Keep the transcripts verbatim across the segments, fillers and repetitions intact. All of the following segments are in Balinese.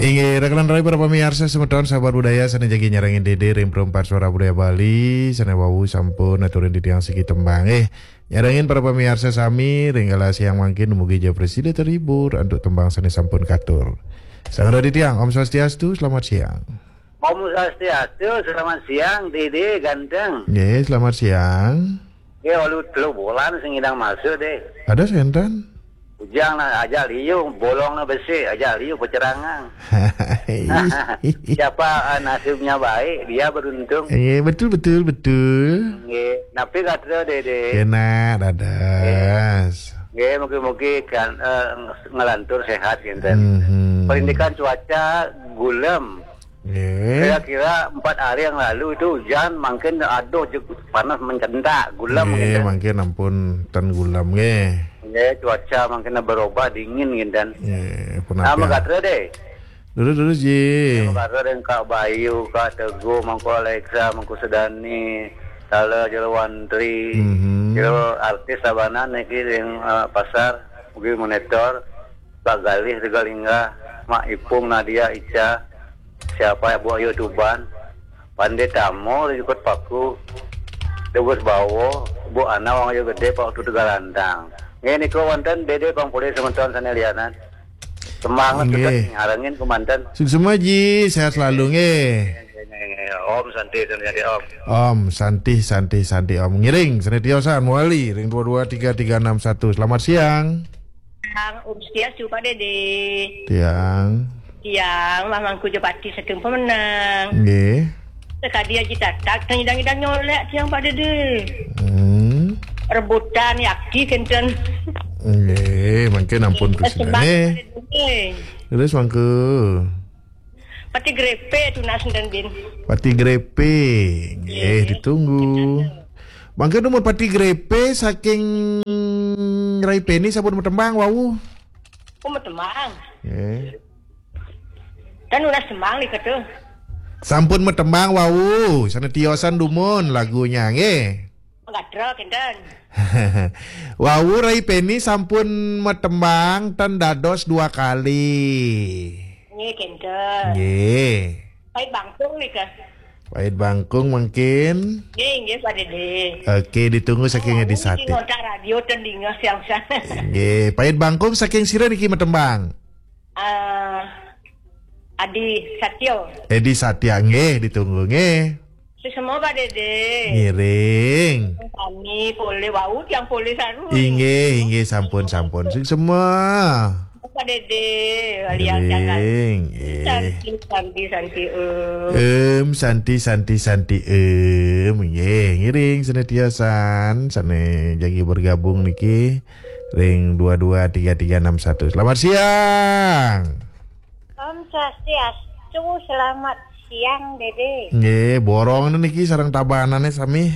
Inggih, rekan rai para pamiarsa semeton sahabat budaya sané jagi nyarengin Dédé ring Perempat Suara Budaya Bali, sané wau sampun aturin titiang siki tembang. Eh, nyarengin para pamiarsa sami ring galah siang mangkin dumugi ja prasida terhibur antuk tembang sané sampun katur. Sareng titiang, Om Swastiastu, selamat siang. Om Swastiastu, selamat siang, Dédé ganteng. Nggih, selamat siang. Nggih, walu telu bulan sing ngidang masuk, Dé. Ada sénten? Ujang nah, aja liu, bolong nah besi, aja liu pecerangang. Siapa, eh, nasibnya baik, dia beruntung. Iya, betul, betul, betul. Nggih, napi gatra, Dédé? Enak, dadas. Nggih, mugi-mugi kan, eh, ngelantur sehat, kinten. Mhm. Perindikan cuaca gulem. Nggih. Kira-kira empat hari yang lalu itu hujan, mangkin aduh, jeg-, panas mencentak, gulem. Nggih, kinten. Mangkin ampun ten gulem, nggih. Nggih, cuaca mangkin berubah, dingin, kinten. Nggih, pun. Nah, apik, ah, magatra, Dé. Terus, terus, Ji. Magatra ring Kak Bayu, Kak Teguh, Mangku Alexa, Mangku Sedani, Tala Jero Wantri, mhm, jero artis Tabanan niki ring, eh, pasar, mugi monitor, Pak Galih Tegalingga, Mak Ipung Nadia Ica, siapa Bu Ayu Tuban, Pandé Tamo Jukut Paku, Tegus Bawo, Bu Ana Wang Ayu Gedé, Pak Utu Tegalantang. Nggih, nika wonten Dédé pang polih semeton sané lianan. Semangat. Nggih. Tetep ngarengin kemanten. Suksma, Ji, sehat selalu, nggih. Nggih, nggih, nggih. Om Santi, Santi, Santi, Om. Om Santi, Santi, Santi, Om. Ngiring, sané tiosan, wali, ring dua dua tiga tiga enam satu. Selamat siang. Siang, Om Swastiastu, Pak Dédé. Siang. Siang, Mah Mangku Jepati saking Pemenang. Nggih. Sekadi Aji Tatak, teng idang-idang nyolek tiang, Pak Dédé. Hmm. Rebutan yakti kinten. Nggih, mangkin ampun. Terus, Pak Dédé. Terus, Mangku. Pati grepe tunas enten, Din. Pati grepe. Nggih, nggih, ditunggu. Mangkin dumun pati grepe saking Rai Peni sampun matembang wau. Oh, matembang. Nggih. Kan nunas tembang nika tuh. Sampun matembang wau, sané tiosan dumun lagunya, nggih. Magatra kinten. Wau Rai Peni sampun matembang ten dados dua kali. Nggih, kinten. Nggih. Pait bangkung nika. Pait bangkung mungkin. Nggih, nggih, Pak Dédé. Oke, ditunggu saking Adi Sati. Ngontak radio ten dingeh siang-siang. Nggih, pait bangkung saking sira niki matembang? Eh, Adi Satyo. Edi Satya, nggih, ditunggu, nggih. Suksma, Pak Dédé. Ngiring. Kami polih wau, tiang polih saru. Inggih, inggih, sampun, sampun. Suksma. Pak Dédé, liang jalan. Ngiring, nggih. Santi, santi, santi, em. Em, santi, santi, santi, em. Nggih, ngiring sané tiosan, sané jagi bergabung niki ring dua dua tiga tiga enam satu. Selamat siang. Om Swastiastu, selamat siang, Dédé. Nggih, borong niki sareng Tabanané sami.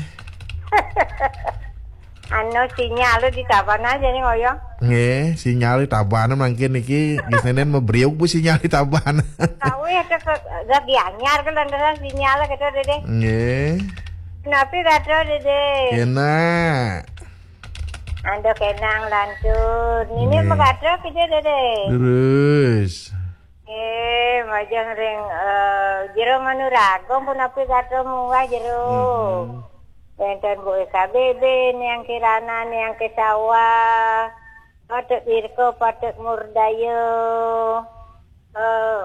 Anu, sinyal di Tabanan jani ngoyong. Nggih, sinyal di Tabanan mangkin niki, geus nénten mabriuk, Bu, sinyal di Tabanan. Kawih ada ke, lagi anyar ke lantaran sinyal gitu, Dédé. Nggih. Napi gatra, Dédé? Kénak. Aduh, kenang lantur. Nini, nggih, magatra kija, Dédé? Terus. Eh, majeng ring, eh, jero Manuragung punapi gatra munggah jero. Mhm. Wénten Bu Eka Bebe, Niang Kirana, Niang Kesawa, Patut Wirko, Patut Murdaya, eh,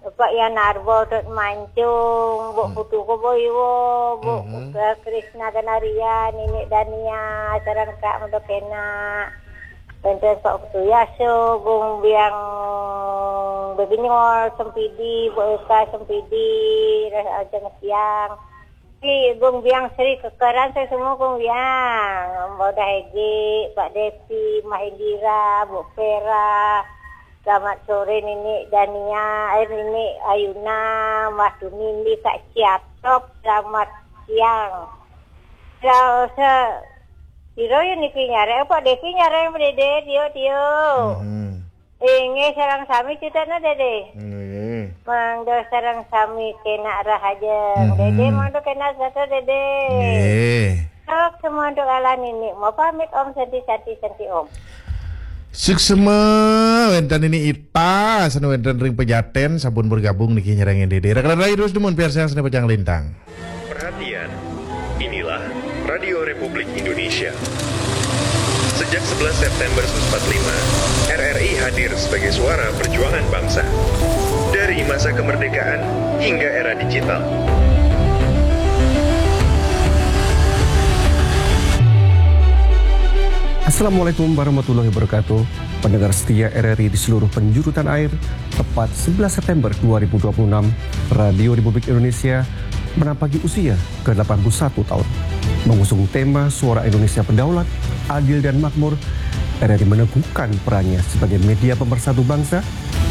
Pak Yan Arbo, Tut Mancung, Bu, mhm, Putu Koboiwo, Bu, mhm, Krisna Ganaria, Nini Dania, sareng Kak Mudok Kena. Wénten Pak Putu Yaso, Gung Biang Bebinyol Sempidi, Bu Eka Sempidi, Ras Ajeng Siang. Ki Gung Biang Sri Kekeran, saya semua Gung Biang. Mbak Udah Egi, Pak Devi, Mah Indira, Bu Vera. Selamat sore Nini Dania, eh, Nini Ayuna, Mas Tunindi, Kak Ciatop, selamat siang. Selamat se-, sira ya niki nyareng, Pak Devi nyareng, Dédé, Tio, Tio. Hmm. Inggih, sareng sami citane, Dédé. Nggih. Mangda sareng sami kena rahajeng. Mhm. Dédé, mangda kena sejahtera, Dédé. Nggih. Sok semonto ala Nini. Mau pamit, Om, Santi, Santi, Santi, Om. Suksma wénten niki Ita, sané wénten ring Pejaten, sampun bergabung niki nyerengin Dédé. Rekan-rekan terus dumun piarsang sané pacang lintang. Perhatian, inilah Radio Republik Indonesia. Sejak sebelas September seribu sembilan ratus empat puluh lima, R R I hadir sebagai suara perjuangan bangsa. Dari masa kemerdekaan hingga era digital. Assalamualaikum warahmatullahi wabarakatuh. Pendengar setia R R I di seluruh penjuru tanah air, tepat sebelas September dua ribu dua puluh enam, Radio Republik Indonesia menampaki usia ke delapan puluh satu tahun. Mengusung tema Suara Indonesia Berdaulat, Adil dan Makmur, R R I meneguhkan perannya sebagai media pemersatu bangsa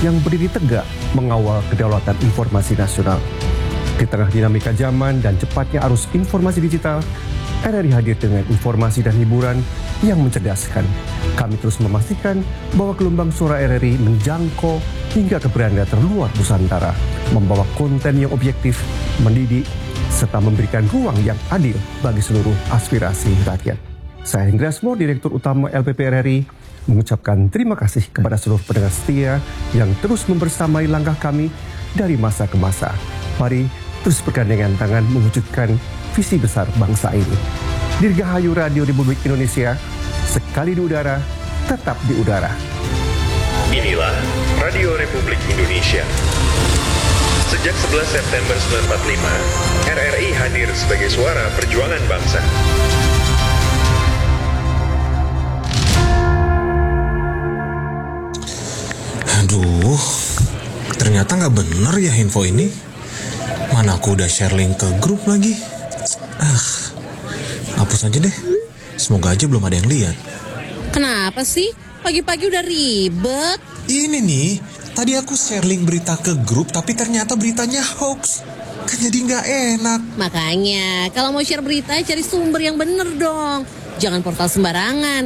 yang berdiri tegak mengawal kedaulatan informasi nasional. Di tengah dinamika zaman dan cepatnya arus informasi digital, R R I hadir dengan informasi dan hiburan yang mencerdaskan. Kami terus memastikan bahwa gelombang suara R R I menjangkau hingga ke beranda terluar Nusantara, membawa konten yang objektif, mendidik, serta memberikan ruang yang adil bagi seluruh aspirasi rakyat. Saya Hendra Asmor, Direktur Utama L P P R R I, mengucapkan terima kasih kepada seluruh pendengar setia yang terus membersamai langkah kami dari masa ke masa. Mari terus bergandengan tangan mewujudkan visi besar bangsa ini. Dirgahayu Radio Republik Indonesia, sekali di udara, tetap di udara. Inilah Radio Republik Indonesia. Sejak sebelas September sembilan empat lima, R R I hadir sebagai suara perjuangan bangsa. Aduh, ternyata nggak bener ya info ini. Mana aku udah share link ke grup lagi. Ah, hapus aja deh. Semoga aja belum ada yang lihat. Kenapa sih? Pagi-pagi udah ribet. Ini nih, tadi aku share link berita ke grup tapi ternyata beritanya hoax. Kan jadi nggak enak. Makanya, kalau mau share berita, cari sumber yang bener dong. Jangan portal sembarangan.